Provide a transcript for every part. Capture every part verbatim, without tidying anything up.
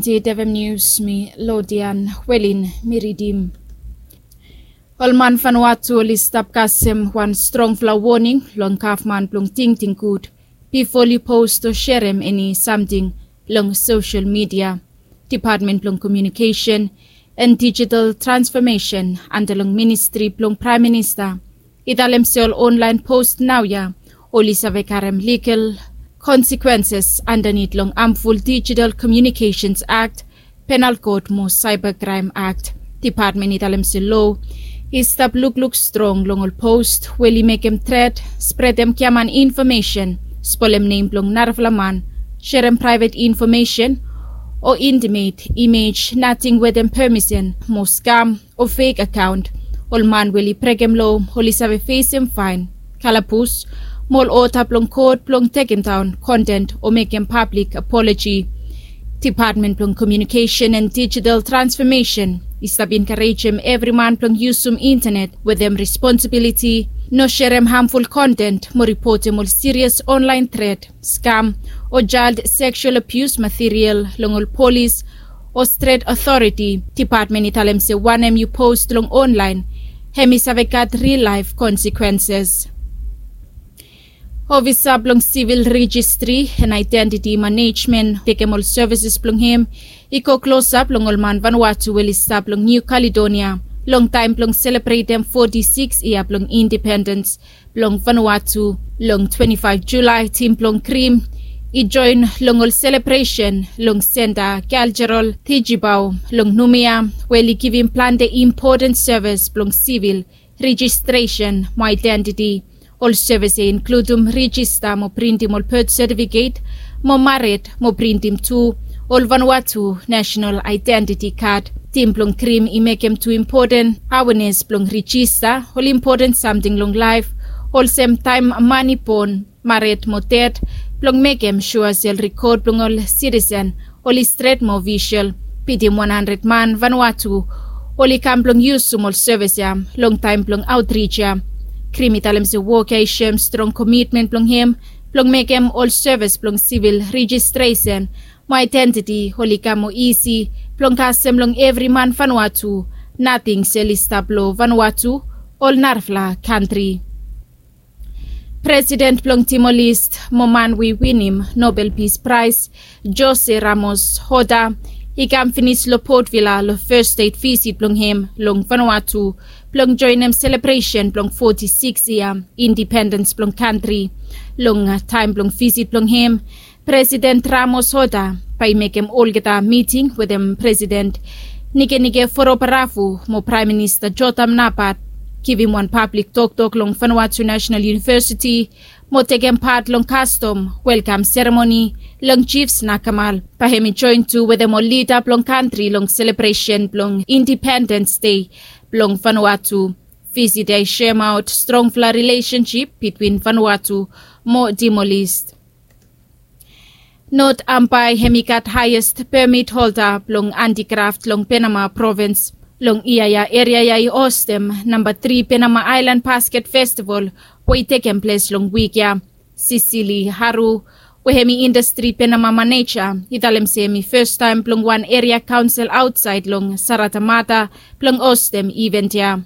Tedevem nius mi lodian welin mi ridim. Ol man Vanuatu oli stap kasem wan strongfala woning long gavman blong tingting gud bifo oli post o serem eni samting long sosel midia. Depatmen blong komiunikesen en dijital transfomesen anda long ministri blong praem minista i talem se ol onlaen post naoia oli save karem ligal konsekwenses andanit long amful Digital Communications Act, Penal Code mo Cybercrime Act. Depatmen i talem se lo i stap lukluk strong long ol post we oli mekem tret, spredem giaman infomesen, spolem nem blong narafala man, serem praevet infomesen o intimet imej nating wetem pemisen mo skam o fek akaon. Ol man we oli brekem lo oli save fesem faen, kalabus mo ol oda blong kot blong tekemdaon konten o mekem pablik apoloji. Depatmen blong Komiunikesen en Dijital Transfomesen i stap enkarejem evri man blong yusum intanet wetem responsibiliti, no serem hamful konten mo ripotem ol sirias onlaen tret, skam o jael seksual abius material long ol polis o stret otoriti. Depatmen i talem se wanem yu post long onlaen hem i save gat ril laef konsekwenses. Ofisa blong sivil rejistri en aedentiti manejmen tekem ol sevises blong hem i go klosap long ol man Vanuatu we oli stap long Niu Kaledonia long taem blong selebretem foti sikis yia blong independens blong Vanuatu. Long twenti faef Julae tim blong Krim i joen long ol selebresen long Senta Kaljerol Tijibau long Numia we oli givim plante impoten sevis blong sivil rejistresen mo aedentiti. Ol sevis ya i inkludum rejista mo printim ol bet setifiket mo mared mo printim tu ol Vanuatu nasenal aedentiti kad. Tim blong Krim i mekem tu impoten awenes blong rejista ol impoten samting long laef olsem taem man i bon, mared mo ded, blong mekem sua se ol rekod blong ol sitisen oli stret mo ofisol. Bitim wan handred man Vanuatu oli kam blong yusum ol sevis ya long taem blong aotrij ya. Krim i talem se wok ya i soem strong komitmen blong hem blong mekem ol sevis blong sivil rejistresen mo aedentiti oli kam moa isi blong kasem long evri man Vanuatu, nating se oli stap long Vanuatu o narafala kantri. Presiden blong Timor-Leste mo man we i winim Nobel Pis Praes, Jose Ramos-Horta, i kam finis long Port Vila long fes stet visit blong hem long Vanuatu blong joenem selebresen blong foti sikis yia indipendens blong kantri. Long taem blong visit blong hem, Presiden Ramos-Horta bae i mekem olgeta miting wetem Presiden Nikenike Vurobaravu mo Praem Minista Jotham Napat, givim wan pablik toktok long Vanuatu Nasenal Yunivesiti mo tekem pat long kastom welkam seremoni long Jifs Nakamal. Bae hem i joen tu wetem ol lida blong kantri long selebresen blong Indipendens Dei blong Vanuatu. Visit ya i soemaot strongfala rilesensip bitwin Vanuatu mo Timor-Leste. Not Ambae hem i gat haes pemit holda blong andikraf long Penama provins. Long yia ya eria ya i hostem namba tri Penama Aelan Basket Festival we i tekem ples long wik ya. Sisili Haru we hem i indastri Penama maneja i talem se hem i fastaem blong wan eria kaonsel aotsaed long Saratamata blong hostem iven ya.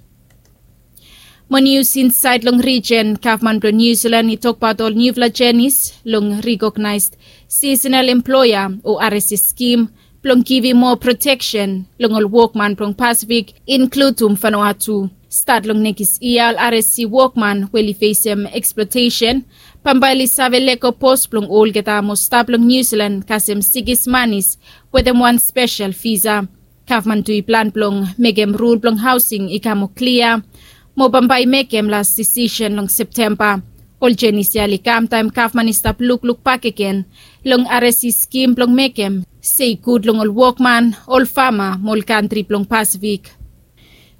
Mo nius insaed long rijen, gavman blong Niu Silan i tokbaot ol niufala jenis long rikognaes sisenal emploea o R S E skim blong givim moa proteksen long ol wokman blong Pasifik, inkludum Vanuatu. Stat long nekis yia ol R S E wokman we oli fesem eksplotesen bambae oli save lego pos blong olgeta mo stap long Niu Silan kasem sikis manis wetem wan spesel visa. Gavman tu i plan blong mekem rul blong haosing i kam moa klia mo bambae i mekem las disisen long Septemba. Ol jenis ya oli kam taem gavman i stap lukluk bakegen long R S E skim blong mekem se i gud long ol wokman, ol fama mo ol kantri blong Pasifik.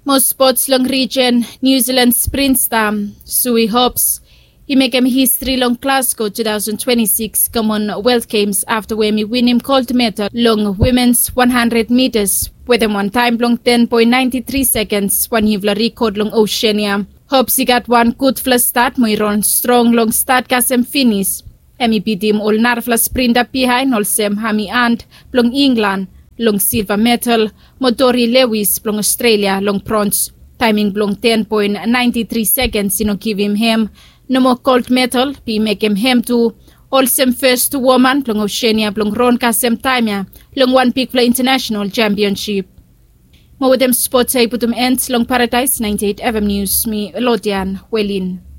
Mo spots long rijen, Niu Silan sprinta Sue Hobbs i mekem histri long Glasgow tu taosen twenti sikis Commonwealth Games afta we hem i winim gold medal long wimens wan handred mitas wetem wan taem blong ten poen naenti tri sekens, wan niufala rikod long Oseania. Hobbs i gat wan gudfala stat mo i ran strong long stat kasem finis. Hem i bitim ol narafala sprinta bihaen olsem Amy Hunt blong Inglan, Long silva medal, mo Tori Lewis blong Australia long brons. Taeming blong ten poen naenti tri sekens i no givim hem. Nomo gold medal bi mekem hem tu olsem fes tu woman blong Oseania blong ron kasem taem ya long wan bigfala intanasonal sempionsip. Mo wetem spots ya i putum end long Paradaes naenti eit FM Nius, mi Lodian Welin.